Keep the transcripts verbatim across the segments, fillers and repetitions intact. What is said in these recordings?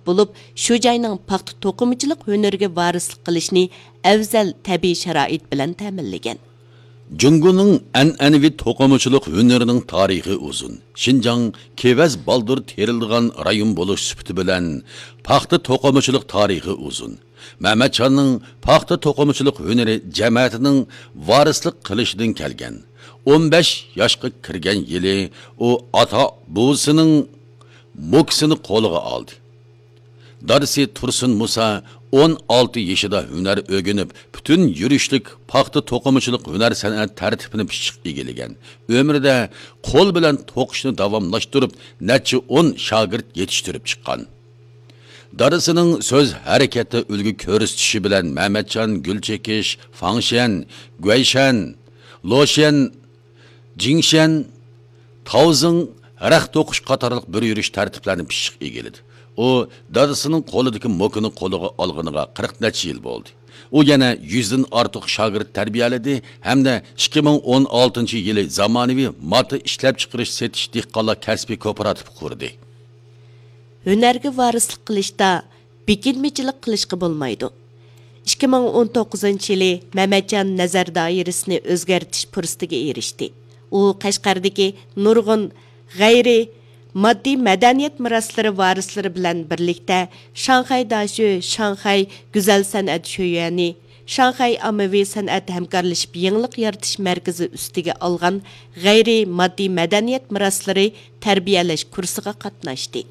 بولۇپ، شۇ جاينىڭ پاختا توقۇمىچىلىق ھۈنىرىگە ۋارىسلىق قىلىشنى ئەۋزەل تەبىئىي شارائىت بىلەن تەمىنلىگەن. جۇڭگونىڭ ئەنئەنىۋى توقۇمىچىلىق ھۈنىرىنىڭ تارىخى ئۇزۇن. شىنجاڭ كېۋەز بالدۇر تېرىلىدىغان رايون بولۇش سۈپىتى بىلەن پاختا توقۇمىچىلىق تارىخى ئۇزۇن. مەمەتجاننىڭ پاختا توقۇمىچىلىق ھۈنىرى جەمەتىنىڭ ۋارىسلىق قىلىشىدىن كەلگەن. ئون بەش ياشقا كىرگەن يىلى ئۇ ئاتا بوۋىسىنىڭ موكىسىنى قولىغا ئالدى. دادىسى تۇرسۇن مۇسا ئون ئالتە يېشىدا ھۈنەر ئۆگىنىپ، پۈتۈن يۈرۈشلۈك پاختا توقۇمىچىلىق ھۈنەر سەنئەت تەرتىپىنى پىششىق ئىگىلىگەن. ئۆمرىدە قول بىلەن توقۇشنى داۋاملاشتۇرۇپ، نەچچە ئون شاگىرت يېتىشتۈرۈپ چىققان. دادىسىنىڭ سۆز ھەرىكەتتە ئۈلگە كۆرسىتىشى بىلەن مەمەتجان گۈل چېكىش، فاڭشيەن، گۇەيشەن، لوشيەن، جىڭشيەن، تاۋزىڭ، رەخت توقۇش قاتارلىق بىر يۈرۈش تەرتىپلەرنى پىششىق ئىگىلىدى. ئۇ دادىسىنىڭ قولىدىكى موكىنى قولىغا ئالغىنىغا قىرىق نەچچە يىل بولدى. ئۇ يەنە يۈزدىن ئارتۇق شاگىرت تەربىيەلىدى ھەمدە ئىككى مىڭ ئون ئالتىنچى يىلى زامانىۋى ماتا ئىشلەپچىقىرىش سېتىش دېھقانلار كەسپىي كوپىراتىپى قۇردى. ھۈنەرگە ۋارىسلىق قىلىشتا بېكىنمىچىلىك قىلىشقا بولمايدۇ. ئىككى مىڭ ئون توققۇزىنچى يىلى مەمەتجان نەزەر دائىرىسىنى ئۆزگەرتىش پۇرسىتىگە ئېرىشتى. ئۇ قەشقەردىكى نۇرغۇن غەيرىي ماددىي مەدەنىيەت مىراسلىرى ۋارىسلىرى بىلەن بىرلىكتە شاڭخەي داشۆ، شاڭخەي گۈزەل سەنئەت شۆيۈەنى، شاڭخەي ئاممىۋى سەنئەت ھەمكارلىشىپ يېڭىلىق يارىتىش مەركىزى ئۈستىگە ئالغان غەيرىي ماددىي مەدەنىيەت مىراسلىرى تەربىيەلەش كۇرسىغا قاتناشتى.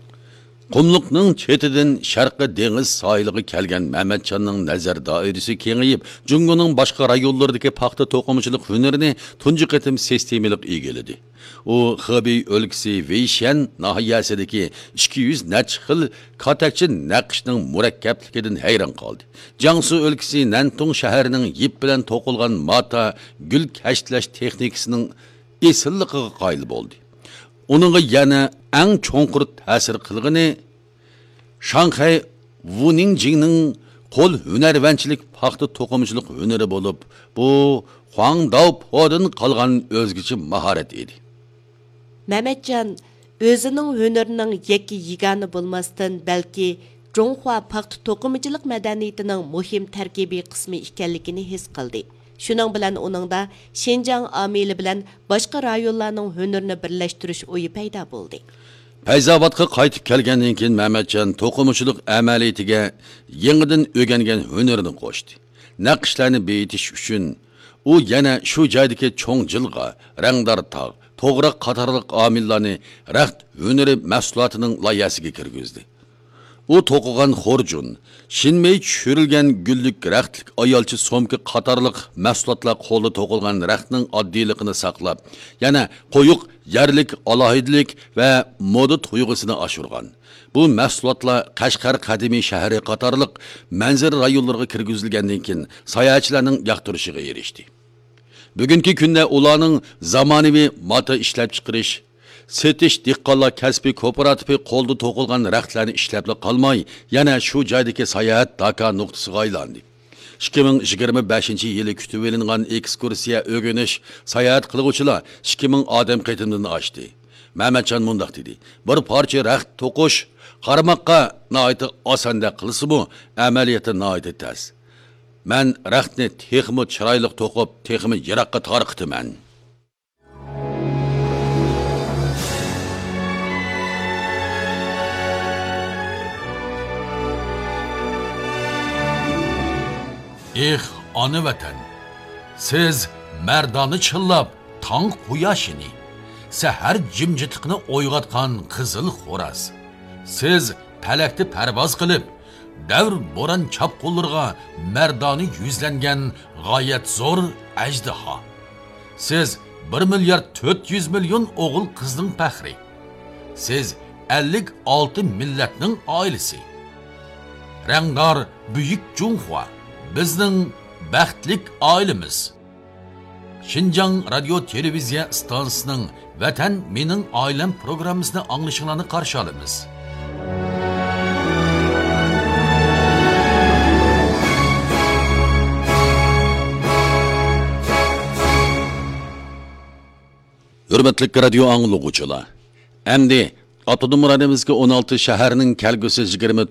قۇملۇقنىڭ چېتىدىن شەرقىي دېڭىز ساھىلىغا كەلگەن مەمەتجاننىڭ نەزەر دائىرىسى كېڭىيىپ، جۇڭگونىڭ باشقا رايونلىرىدىكى پاختا توقۇمىچىلىق ھۈنىرىنى تۇنجى قېتىم سىستېمىلىق ئىگىلىدى. ئۇ خېبېي ئۆلكىسى ۋېيشيەن ناھىيەسىدىكى ئىككى يۈز نەچچە خىل كاتەكچە نەقىشنىڭ مۇرەككەپلىكىدىن ھەيران قالدى. جياڭسۇ ئۆلكىسى نەنتۇڭ شەھىرىنىڭ يىپ بىلەن توقۇلغان ماتا گۈل كەشتىلەش تېخنىكىسىنىڭ ئېسىللىقىغا قايىل بولدى. ئۇنىڭغا يەنە ئەڭ چوڭقۇر تەسىر قىلغىنى شاڭخەي ۋۇنىڭجىڭنىڭ قول ھۈنەرۋەنچىلىك پاختا توقۇمىچىلىق ھۈنىرى بولۇپ، بۇ خۇاڭداۋپودىن قالغان ئۆزگىچە ماھارەت ئىدى. مەمەتجان ئۆزىنىڭ ھۈنىرىنىڭ يەككە يېگانە بولماستىن، بەلكى جۇڭخۇا پاختا توقۇمىچىلىق مەدەنىيىتىنىڭ مۇھىم تەركىبىي قىسمى ئىكەنلىكىنى ھېس قىلدى. شۇنىڭ بىلەن ئۇنىڭدا شىنجاڭ ئامىلى بىلەن باشقا رايونلارنىڭ ھۈنىرىنى بىرلەشتۈرۈش ئويى پەيدا بولدى. پەيزاۋاتقا قايتىپ كەلگەندىن كېيىن، مەمەتجان توقۇمىچىلىق ئەمەلىيىتىگە يېڭىدىن ئۆگەنگەن ھۈنىرىنى قوشتى. نەقىشلەرنى بېيىتىش ئۈچۈن، ئۇ يەنە شۇ جايدىكى چوڭ جىلغا، رەڭدار تاغ، توغراق قاتارلىق ئامىللارنى رەخت ھۈنىرى مەھسۇلاتىنىڭ لايىھەسىگە كىرگۈزدى. ئۇ توقۇغان خورجۇن، شىنمېي چۈشۈرۈلگەن گۈللۈك رەختلىك ئايالچە سومكا قاتارلىق مەھسۇلاتلار قولدا توقۇلغان رەختنىڭ ئاددىيلىقىنى ساقلاپ، يەنە قويۇق يەرلىك ئالاھىدىلىك ۋە مودا تۇيغۇسىنى ئاشۇرغان. بۇ مەھسۇلاتلار قەشقەر قەدىمىي شەھىرى قاتارلىق مەنزىرە رايونلىرىغا كىرگۈزۈلگەندىن كېيىن، ساياھەتچىلەرنىڭ ياقتۇرۇشىغا ئېرىشتى. بۈگۈنكى كۈندە ئۇلارنىڭ زامانىۋى ماتا ئىشلەپچىقىرىش، سېتىش دېھقانلار كەسپىي كوپىراتىپى قولدا توقۇلغان رەختلەرنى ئىشلەپلا قالماي، يەنە شۇ جايدىكى ساياھەت داكا نۇقتىسىغا ئايلاندى. ئىككى مىڭ يىگىرمە بەشىنچى يىلى كۈتۈۋېلىنغان ئېكسكۇرسىيە ئۆگىنىش، ساياھەت قىلغۇچىلار ئىككى مىڭ ئادەم قېتىمدىن ئاشتى. مەمەتجان مۇنداق دېدى، بىر پارچە رەخت توقۇش قارىماققا ناھايىتى ئاساندەك قىلسىمۇ، ئەمەلىيەتتە ناھايىتى تەس. مەن رەختنى تېخىمۇ چىرايلىق توقۇپ، تېخىمۇ يىراققا تارقىتىمەن. ئېھ، ئانا ۋەتەن! سىز مەردانە چىللاپ تاڭ قۇياشىنى، سەھەر جىمجىتلىقىنى ئويغاتقان قىزىل خوراز. سىز پەلەكتە پەرۋاز قىلىپ، دەۋر بوران چاپقۇنلىرىغا مەردانە يۈزلەنگەن غايەت زور ئەجدىھا. سىز بىر مىليارد تۆت يۈز مىليون ئوغۇل قىزنىڭ پەخرى. سىز ئەللىك ئالتە مىللەتنىڭ ئائىلىسى. رەڭدار بۈيۈك جۇڭخۇا، بىزنىڭ بەختلىك ئائىلىمىز. شىنجاڭ رادىيو تېلېۋىزىيە ئىستانسىسىنىڭ ۋەتەن مېنىڭ ئائىلەم پروگراممىسىنى ئاڭلىشىڭلارنى قارشى ئالىمىز. ھۆرمەتلىك رادىيو ئاڭلىغۇچىلار، ئەمدى ئاپتونوم رايونىمىزدىكى ئون ئالتە شەھەرنىڭ كەلگۈسى يىگىرمە تۆت